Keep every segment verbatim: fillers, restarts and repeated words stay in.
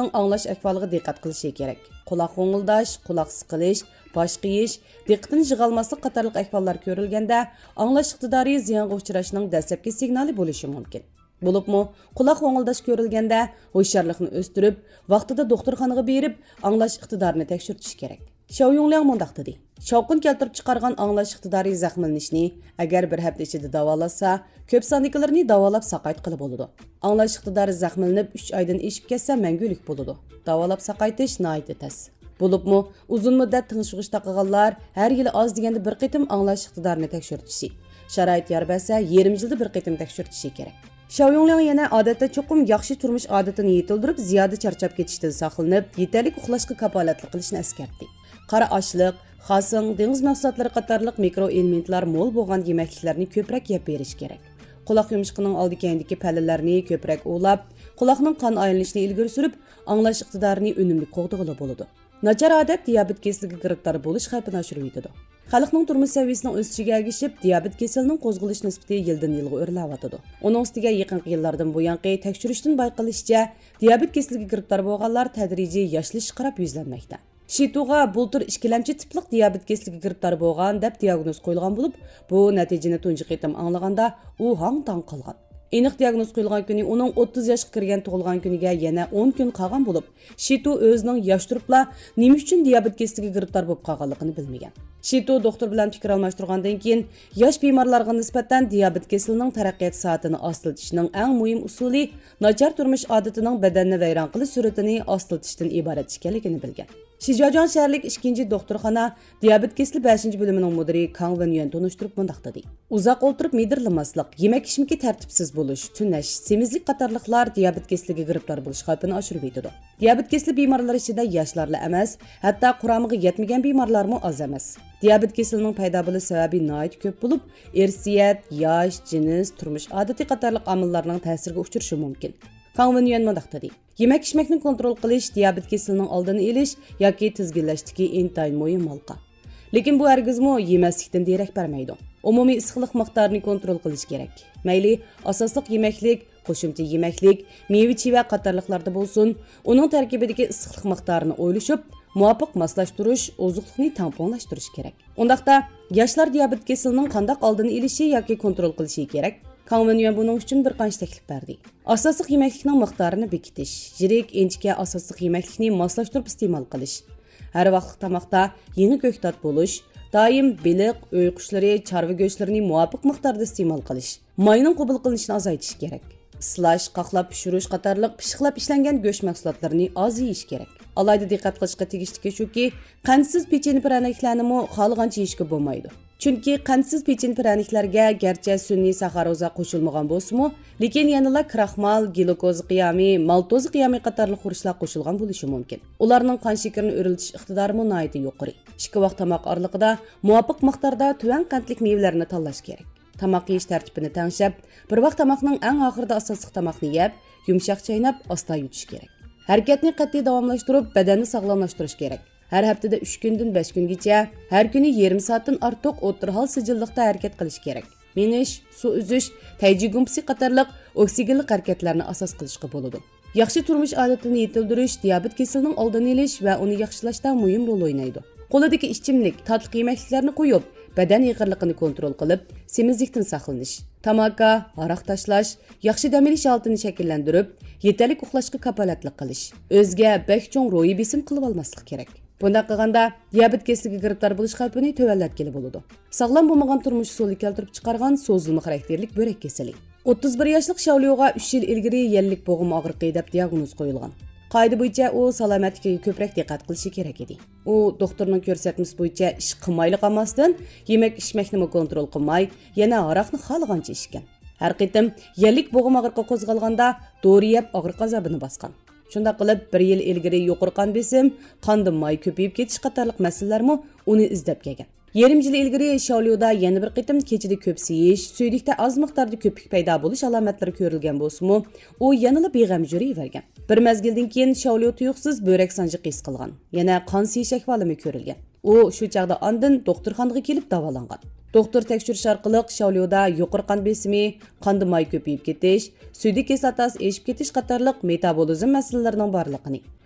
ئاڭلاش ئەھۋالىغا دىققەت قىلىشى كېرەك. قۇلاق غوڭۇلداش، قۇلاق سىقىلىش، باش قېيىش، دىققىتىنى يىغالماسلىق قاتارلىق ئەھۋاللار كۆرۈلگەندە، ئاڭلاش ئىقتىدارى زىيانغا ئۇچراشنىڭ دەسلەپكى سىگنالى بولۇشى مۇمكىن. بولۇپمۇ، قۇلاق غوڭۇلداش كۆرۈلگەندە، ھوشيارلىقنى ئۆستۈرۈپ، ۋاقتىدا دوختۇرخانىغا بېرىپ، ئاڭلاش ئىقتىدارىنى تەكشۈرتۈش كېرەك. شاۋ يۇڭلياڭ مۇنداق دېدى: شاۋقۇن كەلتۈرۈپ چىقارغان ئاڭلاش ئىقتىدارى زەخىملىنىشنى ئەگەر بىر ھەپتە ئىچىدە داۋالاتسا، كۆپ ساندىكىلىرىنى داۋالاپ ساقايتقىلى بولىدۇ. ئاڭلاش ئىقتىدارى زەخىملىنىپ ئۈچ ئايدىن ئېشىپ كەتسە، مەڭگۈلۈك بولىدۇ. داۋالاپ ساقايتىش ناھايىتى تەس. بولۇپمۇ، ئۇزۇن مۇددەت تىڭشىغۇچ تاقىغانلار ھەر يىلى ئاز دېگەندە بىر قېتىم ئاڭلاش ئىقتىدارىنى تەكشۈرتۈشى، شارائىت يار بەرسە، يېرىم يىلدا بىر قېتىم تەكشۈرتۈشى كېرەك. شاۋ يۇڭلياڭ يەنە ئادەتتە چوقۇم ياخشى تۇرمۇش ئادىتىنى يېتىلدۈرۈپ، زىيادە چارچاپ كېتىشتىن ساقلىنىپ، يېتەرلىك ئۇخلاشقا كاپالەتلىك قىلىشنى ئەسكەرتتى. قارا ئاشلىق، خاسىڭ، دېڭىز مەھسۇلاتلىرى قاتارلىق مىكرو ئېلېمېنتلار مول بولغان يېمەكلىكلەرنى كۆپرەك يەپ بېرىش كېرەك. قۇلاق يۇمشىقىنىڭ ئالدى كەينىدىكى پەللىلەرنى كۆپرەك ئۇۋىلاپ، قۇلاقنىڭ قان ئايلىنىشىنى ئىلگىرى سۈرۈپ، ئاڭلاش ئىقتىدارىنى ئۈنۈملۈك قوغدىغىلى بولىدۇ. ناچار ئادەت دىيابېت كېسىلىگە گىرىپتار بولۇش خەۋپىنى ئاشۇرۇۋېتىدۇ. خەلقنىڭ تۇرمۇش سەۋىيەسىنىڭ ئۆسۈشىگە ئەگىشىپ، دىيابېت كېسىلىنىڭ قوزغىلىش نىسبىتى يىلدىن يىلغا ئۆرلەۋاتىدۇ. ئۇنىڭ ئۈستىگە يېقىنقى يىللاردىن بۇيانقى تەكشۈرۈشتىن بايقىلىشىچە، دىيابېت كېسىلىگە گىرىپتار بولغانلار تەدرىجىي ياشلىشىشقا قاراپ يۈزلەنمەكتە. شىتۇغا بۇلتۇر ئىككىلەمچى تىپلىق دىيابېت كېسىلىگە گىرىپتار بولغان دەپ دىياگنوز قويۇلغان بولۇپ، بۇ نەتىجىنى تۇنجى قېتىم ئاڭلىغاندا ئۇ ھاڭ-تاڭ قالغان. ئېنىق دىياگنوز قويۇلغان كۈنى ئۇنىڭ ئوتتۇز ياشقا كىرگەن تۇغۇلغان كۈنىگە يەنە ئون كۈن قالغان بولۇپ، شىتۇ ئۆزىنىڭ ياش تۇرۇپلا نېمە ئۈچۈن دىيابېت كېسىلىگە گىرىپتار بولۇپ قالغانلىقىنى بىلمىگەن. شىتۇ دوختۇر بىلەن پىكىر ئالماشتۇرغاندىن كېيىن، ياش بىمارلارغا نىسبەتەن دىيابېت كېسىلىنىڭ تەرەققىيات سائىتىنى ئاستىلىتىشنىڭ ئەڭ مۇھىم ئۇسۇلى ناچار تۇرمۇش ئادىتىنىڭ بەدەننى ۋەيران قىلىش سۈرئىتىنى ئاستىلىتىشتىن ئىبارەت ئىكەنلىكىنى بىلگەن. شىجياجۇاڭ شەھەرلىك ئىككىنچى دوختۇرخانا دىيابېت كېسىلى بەشىنچى بۆلۈمىنىڭ مۇدىرى كاڭ ۋېنيۈەن تونۇشتۇرۇپ مۇنداق دېدى: ئۇزاق ئولتۇرۇپ مىدىرلىماسلىق، يېمەك ئىچمىكى تەرتىپسىز بولۇش، تۈنەش، سېمىزلىك قاتارلىقلار دىيابېت كېسىلىگە گىرىپتار بولۇش خەۋپىنى ئاشۇرۇۋېتىدۇ. دىيابېت كېسىلى بىمارلىرى ئىچىدە ياشلارلا ئەمەس، ھەتتا قۇرامىغا يەتمىگەن بىمارلارمۇ ئاز ئەمەس. دىيابېت كېسىلىنىڭ پەيدا بولۇش سەۋەبى ناھايىتى كۆپ بولۇپ، ئىرسىيەت، ياش، جىنس، تۇرمۇش ئادىتى قاتارلىق ئامىللارنىڭ تەسىرىگە ئۇچرىشى مۇمكىن. كاڭ ۋېنيۈەن مۇنداق دېدى: يېمەك ئىچمەكنى كونترول قىلىش دىيابېت كېسىلىنىڭ ئالدىنى ئېلىش ياكى تىزگىنلەشتىكى ئىنتايىن مۇھىم ھالقا. لېكىن بۇ ھەرگىزمۇ يېمەسلىكتىن دېرەك بەرمەيدۇ. ئومۇمىي ئىسسىقلىق مىقدارىنى كونترول قىلىش كېرەك. مەيلى ئاساسلىق يېمەكلىك، قوشۇمچە يېمەكلىك، مېۋە-چىۋە قاتارلىقلاردا بولسۇن، ئۇنىڭ تەركىبىدىكى ئىسسىقلىق مىقدارىنى ئويلىشىپ، مۇۋاپىق ماسلاشتۇرۇش، ئوزۇقلۇقنى تەڭپۇڭلاشتۇرۇش كېرەك. ئۇنداقتا، ياشلار دىيابېت كېسىلىنىڭ قانداق ئالدىنى ئېلىشى ياكى كونترول قىلىشى كېرەك؟ كاڭ ۋېنيۈەن بۇنىڭ ئۈچۈن بىر قانچە تەكلىپ بەردى. ئاساسلىق يېمەكلىكنىڭ مىقدارىنى بېكىتىش، يىرىك، ئىنچىكە ئاساسلىق يېمەكلىكنى ماسلاشتۇرۇپ ئىستېمال قىلىش، ھەر ۋاقىتلىق تاماقتا يېڭى كۆكتات بولۇش، دائىم بېلىق، ئۆي قۇشلىرى، چارۋا گۆشلىرىنى مۇۋاپىق مىقداردا ئىستېمال قىلىش، ماينىڭ قوبۇل قىلىنىشىنى ئازايتىش كېرەك. ئىسلاش، قاقلاپ پىشۇرۇش قاتارلىق پىششىقلاپ ئىشلەنگەن گۆش مەھسۇلاتلىرىنى ئاز يېيىش كېرەك. ئالاھىدە دىققەت قىلىشقا تېگىشلىكى شۇكى، قەنتسىز پېچىنە پىرەنىكلەرنىمۇ خالىغانچە يېيىشكە بولمايدۇ. چۈنكى قەنتسىز پېچىنە پىرەنىكلەرگە گەرچە سۈنئىي ساخاروزا قوشۇلمىغان بولسىمۇ، لېكىن يەنىلا كراخمال، گلۇكوزا قىيامى، مالتوزا قىيامى قاتارلىق خۇرۇچلار قوشۇلغان بولۇشى مۇمكىن. ئۇلارنىڭ قان شېكىرىنى ئۆرلىتىش ئىقتىدارىمۇ ناھايىتى يۇقىرى. ئىككى ۋاق تاماق ئارىلىقىدا مۇۋاپىق مىقداردا تۆۋەن قەنتلىك مېۋىلەرنى تاللاش كېرەك. تاماق يېيىش تەرتىپىنى تەڭشەپ، بىر ۋاق تاماقنىڭ ئەڭ ئاخىرىدا ئاساسلىق تاماقنى يەپ، يۇمشاق چايناپ، ئاستا يۇتۇش كېرەك. ھەرىكەتنى قەتئىي داۋاملاشتۇرۇپ، بەدەننى ساغلاملاشتۇرۇش كېرەك. ھەر ھەپتىدە ئۈچ كۈندىن بەش كۈنگىچە، ھەر كۈنى يېرىم سائەتتىن ئارتۇق ئوتتۇرا ھال سىجىللىقتا ھەرىكەت قىلىش كېرەك. مېڭىش، سۇ ئۈزۈش، تەيجى گۇمپىسى قاتارلىق ئوكسىگېنلىق ھەرىكەتلەرنى ئاساس قىلىشقا بولىدۇ. ياخشى تۇرمۇش ئادىتىنى يېتىلدۈرۈش دىيابېت كېسىلىنىڭ ئالدىنى ئېلىش ۋە ئۇنى ياخشىلاشتا مۇھىم رول ئوينايدۇ. قولىدىكى ئىچىملىك، تاتلىق يېمەكلىكلەرنى قويۇپ، بەدەن ئېغىرلىقىنى كونترول قىلىپ، سېمىزلىكتىن ساقلىنىش. تاماكا، ھاراق تاشلاش، ياخشى دەم ئېلىش ھالىتىنى شەكىللەندۈرۈپ، يېتەرلىك ئۇخلاشقا كاپالەتلىك قىلىش. ئۆزىگە بەك چوڭ روھىي بېسىم قىلىۋالماسلىق كېرەك. بۇنداق قىلغاندا، دىيابېت كېسىلىگە گىرىپتار بولۇش خەۋپىنى تۆۋەنلەتكىلى بولىدۇ. ساغلام بولمىغان تۇرمۇش ئۇسۇلى كەلتۈرۈپ چىقارغان سوزۇلما خاراكتېرلىك بۆرەك كېسىلى. ئوتتۇز بىر ياشلىق شاۋليۇغا ئۈچ يىل ئىلگىرى يەللىك بوغۇم ئاغرىقى دەپ دىياگنوز قويۇلغان. قائىدە بويىچە ئۇ سالامەتلىكىگە كۆپرەك دىققەت قىلىشى كېرەك ئىدى. ئۇ دوختۇرنىڭ كۆرسەتمىسى بويىچە ئىش قىلمايلا قالماستىن، يېمەك ئىچمەكنىمۇ كونترول قىلماي، يەنە ھاراقنى خالىغانچە ئىچكەن. ھەر قېتىم يەللىك بوغۇم ئاغرىقى قوزغالغاندا، دورا يەپ ئاغرىق ئازابىنى باسقان. شۇنداق قىلىپ، بىر يىل ئىلگىرى يۇقىرى قان بېسىم، قاندا ماي كۆپىيىپ كېتىش قاتارلىق مەسىلىلەرمۇ ئۇنى ئىزدەپ كەلگەن. يېرىم يىل ئىلگىرى شاۋليۇدا يەنە بىر قېتىم كېچىدە كۆپ سىيىش، سۈيدۈكتە ئاز مىقداردا كۆپۈك پەيدا بولۇش ئالامەتلىرى كۆرۈلگەن بولسىمۇ، ئۇ يەنىلا بىغەم يۈرۈۋەرگەن. بىر مەزگىلدىن كېيىن شاۋليۇ تۇيۇقسىز بۆرەك سانجىقى ھېس قىلغان، يەنە قان سىيىش ئەھۋالىمۇ كۆرۈلگەن. ئۇ شۇ چاغدا ئاندىن دوختۇرخانىغا كېلىپ داۋالانغان. دوختۇر تەكشۈرۈش ئارقىلىق شاۋليۇدا يۇقىرى قان بېسىمى، قاندا ماي كۆپىيىپ كېتىش، سۈيدۈك كىسلاتاسى ئېشىپ كېتىش قاتارلىق مېتابولىزم مەسىلىلىرىنىڭ بارلىقىنى،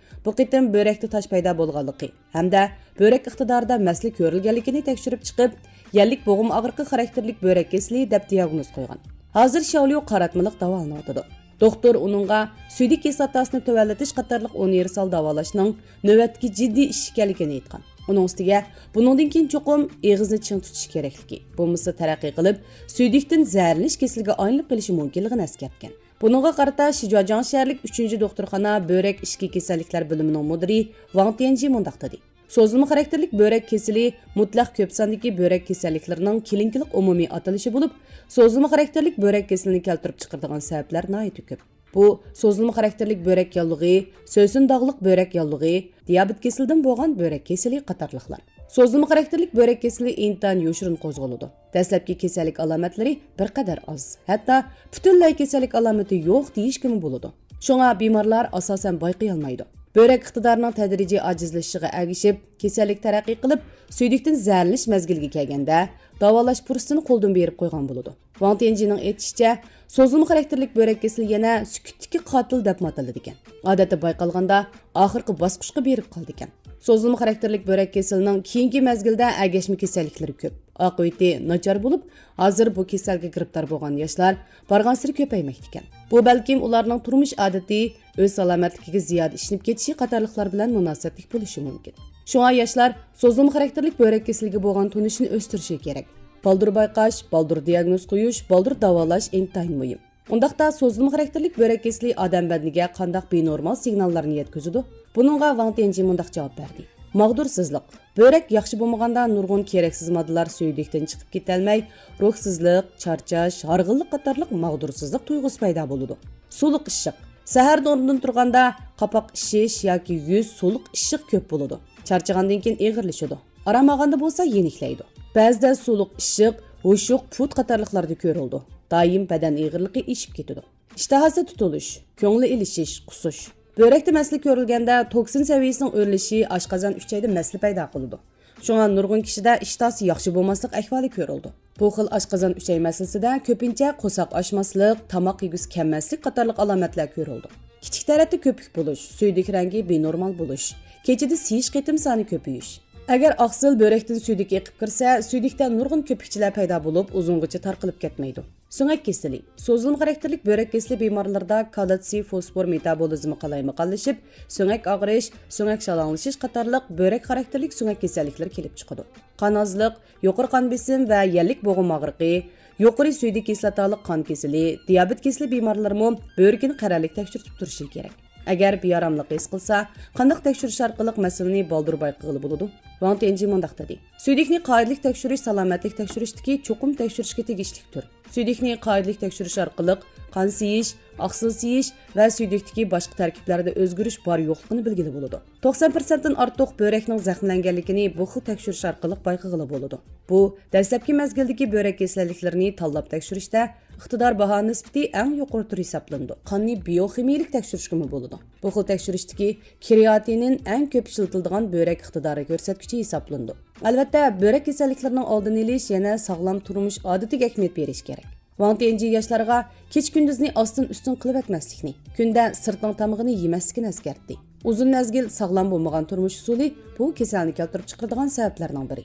بۇ قېتىم بۆرەكتە تاش پەيدا بولغانلىقى ھەمدە بۆرەك ئىقتىدارىدا مەسىلە كۆرۈلگەنلىكىنى تەكشۈرۈپ چىقىپ، يەللىك بوغۇم ئاغرىقى خاراكتېرلىك بۆرەك كېسىلى دەپ دىياگنوز قويغان. ھازىر شياۋليۇ قاراتمىلىق داۋالىنىۋاتىدۇ. دوختۇر ئۇنىڭغا سۈيدۈك كىسلاتاسىنى تۆۋەنلىتىش قاتارلىق ئۇنىۋېرسال داۋالاشنىڭ نۆۋەتتىكى جىددىي ئىش ئىكەنلىكىنى ئېيتقان. ئۇنىڭ ئۈستىگە بۇنىڭدىن كېيىن چوقۇم ئېغىزنى چىڭ تۇتۇش كېرەكلىكى، بولمىسا تەرەققىي قىلىپ، سۈيدۈكتىن زەھەرلىنىش كېسىلىگە ئايلىنىپ قېلىشى مۇمكىنلىقىنى ئەسكەرتكەن. بۇنىڭغا قارىتا شىجۇاجياڭ شەھەرلىك ئۈچىنچى دوختۇرخانا بۆرەك ئىچكى كېسەللىكلەر بۆلۈمىنىڭ مۇدىرى ۋاڭ تيەنجى مۇنداق دېدى: سوزۇلما خاراكتېرلىك بۆرەك كېسىلى مۇتلەق كۆپ ساندىكى بۆرەك كېسەللىكلىرىنىڭ كلىنىكىلىق ئومۇمىي ئاتىلىشى بولۇپ، سوزۇلما خاراكتېرلىك بۆرەك كېسىلىنى كەلتۈرۈپ چىقىرىدىغان سەۋەبلەر ناھايىتى كۆپ. بۇ سوزۇلما خاراكتېرلىك بۆرەك ياللۇغى، سۆسۈن داغلىق بۆرەك ياللۇغى، دىيابېت كېسىلىدىن بولغان بۆرەك كېسىلى قاتارلىقلار. سوزۇلما خاراكتېرلىك بۆرەك كېسىلى ئىنتايىن يوشۇرۇن قوزغىلىدۇ. دەسلەپكى كېسەللىك ئالامەتلىرى بىر قەدەر ئاز، ھەتتا پۈتۈنلەي كېسەللىك ئالامىتى يوق دېيىشكىمۇ بولىدۇ. شۇڭا بىمارلار ئاساسەن بايقىيالمايدۇ. بۆرەك ئىقتىدارىنىڭ تەدرىجىي ئاجىزلىشىشىغا ئەگىشىپ، كېسەللىك تەرەققىي قىلىپ، سۈيدۈكتىن زەھەرلىنىش مەزگىلىگە كەلگەندە، داۋالاش پۇرسىتىنى قولدىن بېرىپ قويغان بولىدۇ. ۋاڭ تيەنجىنىڭ ئېيتىشىچە، سوزۇلما خاراكتېرلىك بۆرەك كېسىلى يەنە سۈكۈتتىكى قاتىل دەپمۇ ئاتىلىدىكەن. ئادەتتە بايقالغاندا، ئاخىرقى باسقۇچقا بېرىپ قالىدىكەن. سوزۇلما خاراكتېرلىك بۆرەك كېسىلىنىڭ كېيىنكى مەزگىلدە ئەگەشمە كېسەللىكلىرى كۆپ. ئاقىۋىتى ناچار بولۇپ، ھازىر بۇ كېسەلگە گىرىپتار بولغان ياشلار بارغانسېرى كۆپەيمەكتىكەن. بۇ بەلكىم ئۇلارنىڭ تۇرمۇش ئادىتى، ئۆز سالامەتلىكىگە زىيادە ئىشىنىپ كېتىشى قاتارلىقلار بىلەن مۇناسىۋەتلىك بولۇشى مۇمكىن. شۇڭا ياشلار سوزۇلما خاراكتېرلىك بۆرەك كېسىلىگە بولغان تونۇشىنى ئۆستۈرۈشى كېرەك. بالدۇر بايقاش، بالدۇر دىياگنوز قويۇش، بالدۇر داۋالاش ئىنتايىن مۇھىم. ئۇنداقتا سوزۇلما خاراكتېرلىك بۆرەك كېسىلى ئادەم بەدىنىگە قانداق بىنورمال سىگناللارنى يەتكۈزىدۇ؟ بۇنىڭغا ۋاڭ تيەنجى مۇنداق جاۋاب بەردى: ماغدۇرسىزلىق. بۆرەك ياخشى بولمىغاندا نۇرغۇن كېرەكسىز ماددىلار سۈيدۈكتىن چىقىپ كېتەلمەي، روھسىزلىق، چارچاش، ھارغىنلىق قاتارلىق ماغدۇرسىزلىق تۇيغۇسى پەيدا بولىدۇ. سۇلۇق ئىششىق. سەھەردە ئورنىدىن تۇرغاندا قاپاق ئىششىش ياكى يۈز سۇلۇق ئىششىق كۆپ بولىدۇ. چارچىغاندىن كېيىن ئېغىرلىشىدۇ. ئارام ئالغاندا بولسا يېنىكلەيدۇ. بەزىدە سۇلۇق ئىششىق، ھوشۇق، پۇت قاتارلىقلاردا كۆرۈلىدۇ. دائىم بەدەن ئېغىرلىقى ئېشىپ كېتىدۇ. ئىشتىھاسى تۇتۇلۇش، كۆڭلى ئېلىشىش، قۇسۇش. بۆرەكتە مەسىلە كۆرۈلگەندە، توكسىن سەۋىيەسىنىڭ ئۆرلىشى ئاشقازان ئۈچەيدە مەسىلە پەيدا قىلىدۇ. شۇڭا نۇرغۇن كىشىدە ئىشتىھاسى ياخشى بولماسلىق ئەھۋالى كۆرۈلىدۇ. بۇ خىل ئاشقازان ئۈچەي مەسىلىسىدە كۆپىنچە قورساق ئاچماسلىق، تاماق يېگۈسى كەلمەسلىك قاتارلىق ئالامەتلەر كۆرۈلىدۇ. كىچىك تەرەتتە كۆپۈك بولۇش، سۈيدۈك رەڭگى بىنورمال بولۇش، كېچىدە سىيىش قېتىم سانى كۆپىيىش. ئەگەر ئاقسىل بۆرەكتىن سۈيدۈك ئېقىپ كىرسە، سۈيدۈكتە نۇرغۇن كۆپۈكچىلەر پەيدا بولۇپ، ئۇزۇنغىچە تارقىلىپ كەتمەيدۇ. سۆڭەك كېسىلى. سوزۇلما خاراكتېرلىك بۆرەك كېسىلى بىمارلىرىدا كالتسىي فوسفور مېتابولىزمى قالايمىقانلىشىپ، سۆڭەك ئاغرىش، سۆڭەك شالاڭلىشىش قاتارلىق بۆرەك خاراكتېرلىك سۆڭەك كېسەللىكلىرى كېلىپ چىقىدۇ. قان ئازلىق، يۇقىرى قان بېسىم ۋە يەللىك بوغۇم ئاغرىقى، يۇقىرى سۈيدۈك كىسلاتالىق قان كېسىلى، دىيابېت كېسىلى بىمارلىرىمۇ بۆرىكىنى قەرەللىك تەكشۈرتۈپ تۇرۇشى كېرەك. ئەگەر بىئاراملىق ھېس قىلسا، قانداق تەكشۈرۈش ئارقىلىق مەسىلىنى بالدۇر بايقىغىلى بولىدۇ؟ ۋاڭ تيەنجى مۇنداق دېدى: سۈيدۈكنى قائىدىلىك تەكشۈرۈش سالامەتلىك تەكشۈرۈشتىكى چوقۇم تەكشۈرۈشكە تېگىشلىك تۈر. سۈيدۈكنى قائىدىلىك تەكشۈرۈش ئارقىلىق قان سىيىش، ئاقسىل سىيىش ۋە سۈيدۈكتىكى باشقا تەركىبلەردە ئۆزگىرىش بار يوقلۇقىنى بىلگىلى بولىدۇ. توقسان پىرسەنتتىن ئارتۇق بۆرەكنىڭ زەخىملەنگەنلىكىنى بۇ خىل تەكشۈرۈش ئارقىلىق بايقىغىلى بولىدۇ. بۇ دەسلەپكى مەزگىلدىكى بۆرەك كېسەللىكلىرىنى تاللاپ تەكشۈرۈشتە ئىقتىدار باھا نىسبىتى ئەڭ يۇقىرى تۈر ھېسابلىنىدۇ. قاننى بىيوخىمىيىلىك تەكشۈرۈشكىمۇ بولىدۇ. بۇ خىل تەكشۈرۈشتىكى كرېئاتىنىن ئەڭ كۆپ ئىشلىتىلىدىغان بۆرەك ئىقتىدارى كۆرسەتكۈچى ھېسابلىنىدۇ. ئەلۋەتتە، بۆرەك كېسەللىكلىرىنىڭ ئالدىنى ئېلىش يەنە ساغلام تۇرمۇش ئادىتىگە ئەھمىيەت بېرىش كېرەك. ۋاڭ تيەنجى ياشلارغا كېچە-كۈندۈزنى ئاستىن-ئۈستۈن قىلىۋەتمەسلىكنى، كۈندە سىرتنىڭ تامىقىنى يېمەسلىكىنى ئەسكەرتتى. ئۇزۇن مەزگىل ساغلام بولمىغان تۇرمۇش ئۇسۇلى بۇ كېسەلنى كەلتۈرۈپ چىقىرىدىغان سەۋەبلەرنىڭ بىرى.